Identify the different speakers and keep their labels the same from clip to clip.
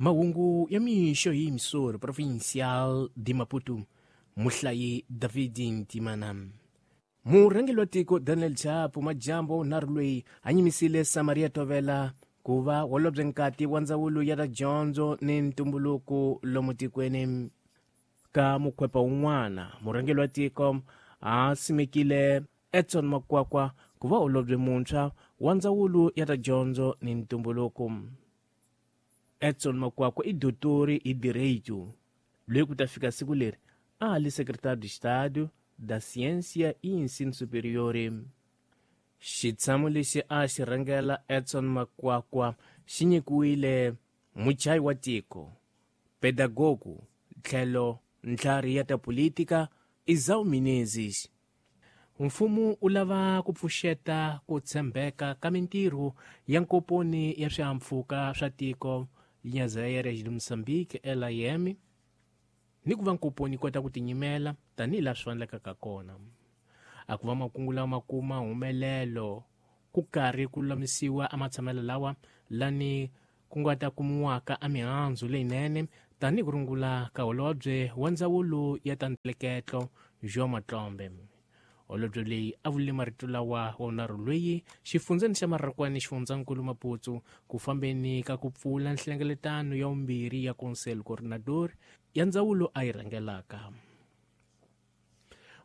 Speaker 1: Mahungu ya mixo hi Missouri Provincial de Maputo, muhlayi David Ntimana. Murhangeri wa tiko Daniel Chapo majambo nharhu loyi a nyimisile Samaria Tovela ku va holobye nkati wa ndzawulo ya ta dyondzo ni ntumbuluko lomu tikweni. Ka mukhwepa wun'wana, murhangeri wa tiko a simekile Edson Makwakwa ku va holobye muntshwa wa ndzawulo ya ta dyondzo ni ntumbuluko. Edson Makwakwa i dotori hi direito, loyi ku ta fika siku leri a ha li Secretário de Estado da Ciência e Ensino Superior. Xitshamo lexi a xi rhangela Edson Makwakwa xi nyikiwile muchayi wa tiko, pedagogo tlhelo ntlhari ya ta politika Izau Menezes. Mfumo wu lava ku pfuxeta ku tshembeka ka mintirho ya nkomponi ya swihahampfhuka swa tiko Linhas Aéreas de Moçambique, LIM, ni ku va nkomponi yi kota ku tinyimela tanihi laha swi fanelekaka kona. A ku va makungu lawa ma kuma humelelo ku karhi ku lulamisiwa amatshamelo lawa lani ku nga ta kumiwaka a mihandzu leyinene tanihi ku rungula ka holobye wa ndzawulo ya ta ntleketlo João Matlombe. Holobye leyi a vulile marito lawa wa vunharhu loyi xifundzeni xa Marrakwani xifundzankulu Maputo ku fambeni ka ku pfula nhlengeletano ya vumbirhi ya Conselho Coordenador ya ndzawulo a yi rhangelaka.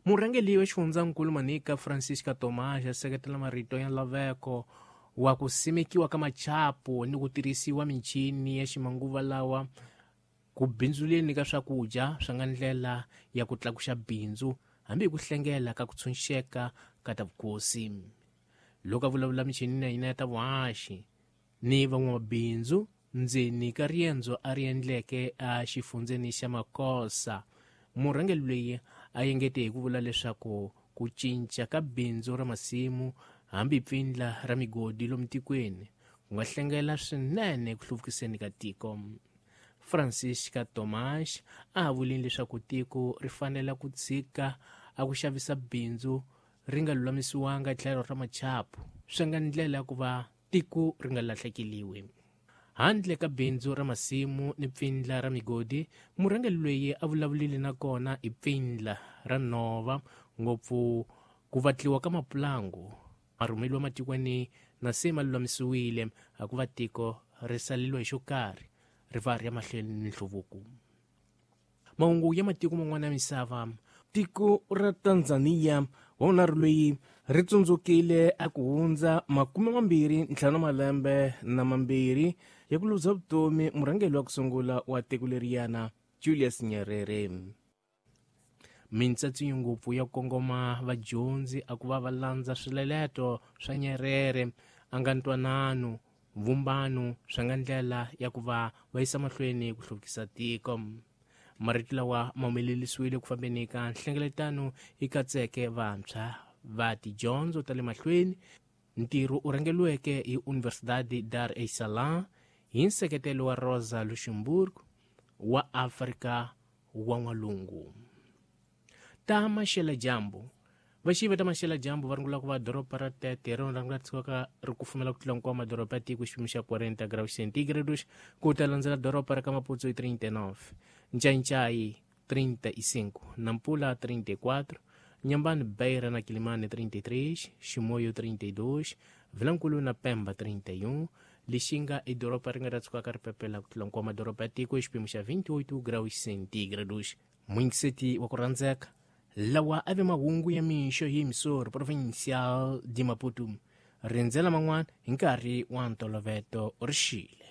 Speaker 1: Murhangeri wa xifundzankulu Manica Francisca Tomás a seketela marito ya nlaveko wa ku simekiwa ka machapu ni ku tirhisiwa michini ya ximanguva lawa ku bindzuleni ka swakudya swa nga ndlela ya ku tlakuxa bindzu hambi hi ku hlengela ka ku tshunxeka ka ta vukosi. Loko a vulavula michinini ya hina ya ta vuhaxi ni van'wamabindzu ndzeni ka riendzo a ri endleke a xifundzeni xa Makosa, murhangeri loyi a engete hi ku vula leswaku ku cinca ka bindzu ra masimu hambi pfindla ra migodi lomu tikweni ku nga hlengela swinene ku hluvukiseni ka tiko. Francisca Tomás a ha vulini leswaku tiko ri fanele ku tshika a ku xavisa bindzu ri nga lulamisiwanga tlhelo ra machapu swi nga ndlela ya ku va tiko ri nga lahlekeliwi. Handle ka bindzu ra masimu ni pfindla ra migodi, murhangeri loyi a vulavulile na kona hi pfindla ra nhova, ngopfu ku vatliwa ka mapulangu ma rhumeliwa matikweni na se ma lulamisiwile a ku va tiko ri saleliwa hi xo karhi ri va ri ya mahlweni ni nhluvuko. Mahungu ya matiko man'wana ya misava. Tiko ra Tanzania wa vunharhu loyi ri tsundzukile a ku hundza 25 malembe na mambirhi ya ku luza vutomi murhangeri wa ku sungula wa tiko leriyana Julius Nyerere. Mintsatsinyo ngopfu ya kongoma vadyondzi a ku va va landza swileleto swa Nyerere a nga ntwanano vumbano swa nga ndlela ya ku va va yisa mahlweni ku hluvukisa tiko. Marito lawa ma humelerisiwile ku fambeni ka nhlengeletano yi katseke vantshwa va tidyondzo ta le mahlweni. Ntirho u rhangeriweke hi Universidade Dar es Salaam hi nseketelo wa Rosa Luxemburg wa Afrika wa N'walungu. Ta maxela dyambu. Vaxivi ta maxela dyambu va rungula ku va doroba ra Tete hi rona ri nga tshukaka ri kufumela ku tlula hinkwawo madoroba ya tiko xipimo xa 40 graus centigrados ku ta landzela doroba ra ka Maputo hi 39, Ncayincai 35, Nampula 34, Nyambani, Beira na Quilimane 33, Chimoio 32, Vilankulu na Pemba 31, Lixinga i doroba ri nga ta tshukaka ri pepela ku tlula hinkwawo madoroba ya tiko hi xipimo xa 28 graus centigrados. Muyingiseti wa ku rhandzeka, lawa a ve mahungu ya mixo hi Missouri Provincial de Maputo. Rindzela man'wana hi nkarhi wa ntoloveto ri xile.